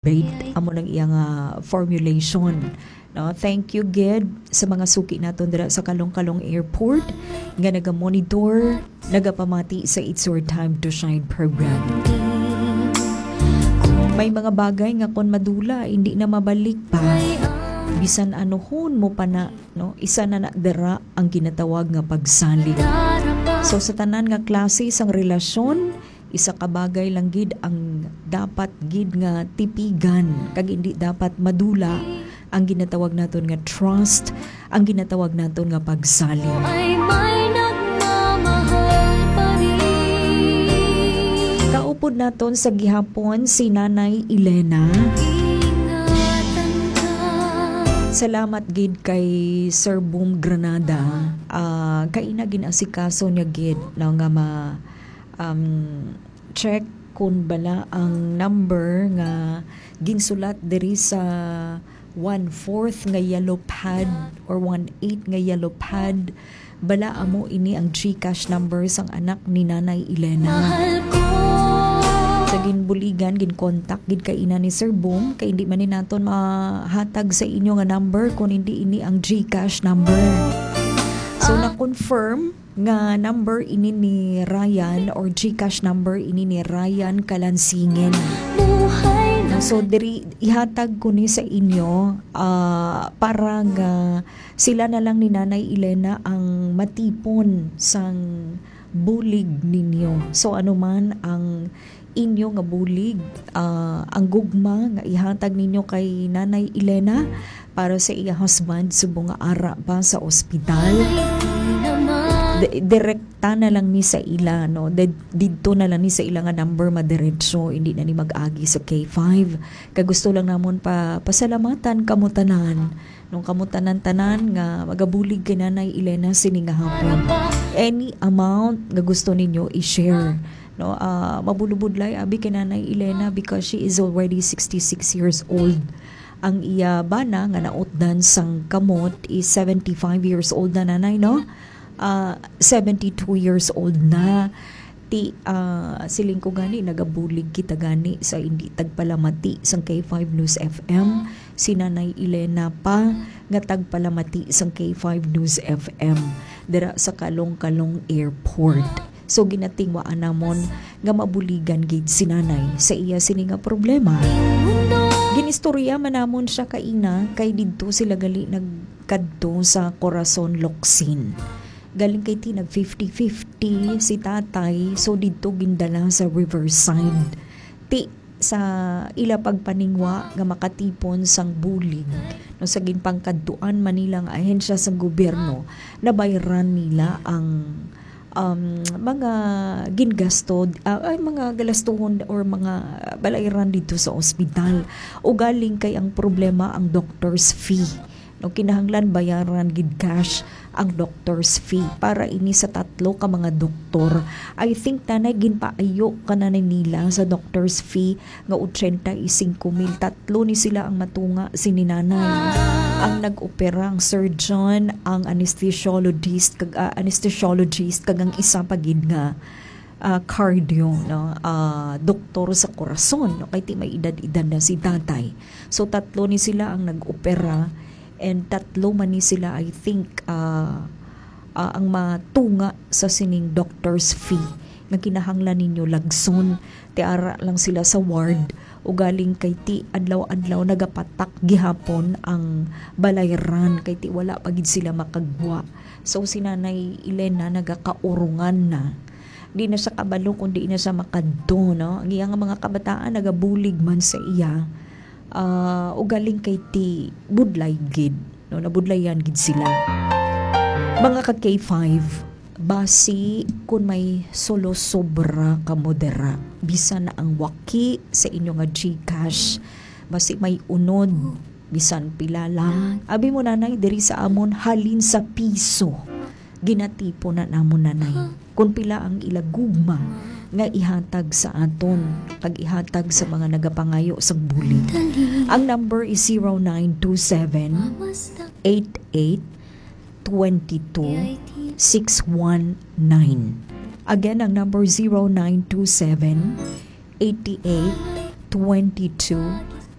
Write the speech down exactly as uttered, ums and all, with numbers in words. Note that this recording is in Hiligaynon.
Bait amo nang iya nga formulation. No, thank you gid sa mga suki naton dira sa Kalong-Kalong Airport nga naga-monitor, nagapamati sa It's Your Time to Shine program. May mga bagay nga kon madula, hindi na mabalik pa. Bisan anuhon mo pa na, no, isa na na dira ang ginatawag nga pagsalig. So, sa tanan nga klase sang relasyon, isa ka bagay lang gid ang dapat gid nga tipigan, kag hindi dapat madula ang ginatawag naton nga trust, ang ginatawag naton nga pagsalig. Ay may nagmamahal pa rin. Kaupod naton sa gihapon si Nanay Elena. Ingatan ka. Salamat gid kay Sir Boom Granada. Ah, kaina gin-asikaso niya gid, no, nga ma-, um, check kung bala ang number nga ginsulat diri sa one-fourth nga yellow pad or one-eighth nga yellow pad. Bala amo ini ang GCash number sang anak ni Nanay Elena. Mahal ko. Sa ginbuligan, ginkontak gid kaina ni Sir Boom, kay hindi man ni naton mahatag sa inyo nga number kung hindi ini ang GCash number. So, Ah. na-confirm nga number ini ni Ryan or GCash number ini ni Ryan Kalansingen. Buhay na. So, diri, ihatag ko ni sa inyo, ah, para nga sila na lang ni Nanay Elena ang matipon sang bulig ninyo. So, ano man ang inyo nga bulig, ah, ang gugma nga ihatag ninyo kay Nanay Elena para sa iya husband, subong nga ara pa sa ospital. Di-, direkta na lang ni sa ila, no? Di-, didto na lang ni sa ila nga number madiretso, hindi na ni mag-agi sa K five. Kay gusto lang namon pa pasalamatan kamo tanan, nung kamo tanan-tanan nga magabulig kay Nanay Elena sini nga hapon. Any amount nga gusto ninyo i-share, no? Ah, mabulubudlay abi kay Nanay Elena because she is already sixty-six years old. Ang iya bana nga nautdan sang kamot is seventy-five years old na, Nanay, no? Ah, seventy-two years old na. Ti, ah, siling ko gani, nagabulig kita gani sa hindi tagpalamati sang K five News F M. Si Nanay Elena pa nga tagpalamati sang K five News F M dira sa Kalong-Kalong Airport. So, ginatingwaan namon nga mabuligan gid si Nanay sa iya sini nga problema. Ginistorya man namon siya kaina kay didto sila gali nagkadto sa Corazon, Locsin. Galing kay ti nag fifty fifty si tatay, so didto gindala sa Riverside. Ti sa ila pagpaningwa nga makatipon sang bulig, no, sa ginpangkadtuan man nila nga ahensya sang gobyerno, nabayran nila ang, um, mga gingasto, ah, ay, mga galastuhon or mga balayran didto sa ospital. Ugaling kay ang problema ang doctor's fee. No, kinahanglan bayaran gid cash ang doctor's fee para ini sa tatlo ka mga doktor. I think, Nanay, ginpaayo ka na ni nila sa doctor's fee nga ochenta y cinco mil. Tatlo ni sila ang matunga sini, Nanay. Ang nag-opera, ang surgeon, ang anesthesiologist, kag, ah, anesthesiologist, kag ang isa pa gid nga, ah, cardio, no? Ah, doktor sa korason, no? Kay ti may edad-edad na si tatay. So, tatlo ni sila ang nag-opera. And tatlo man ni sila, I think, ah, ah, ang matunga sa sining doctor's fee nga kinahanglan ninyo lagson. Ti ara lang sila sa ward. Ugaling kay ti adlaw-adlaw nagapatak gihapon ang balayran, kay ti wala pa gid sila makagwa. So, si Nanay Elena nagakaurungan na. Di na siya kabalo kung di na siya makadto, no? Ang iya nga mga kabataan nagabulig man sa iya. Ah, ugaling kay ti budlay gid, no? Nabudlayan gid sila. Mga ka K five, basi kun may sulosobra kamo dira, bisan na ang waki sa inyo nga GCash, basi may unod, bisan pila lang. Abi mo, Nanay, diri sa amon halin sa piso, ginatipon na namon, Nanay. Kung pila ang ila gugma nga ihatag sa aton, kag ihatag sa mga nagapangayo sang bulig. Ang number is zero nine two seven, eight eight, twenty two, six one nine. Again, ang number, zero nine two seven, eight eight, twenty two,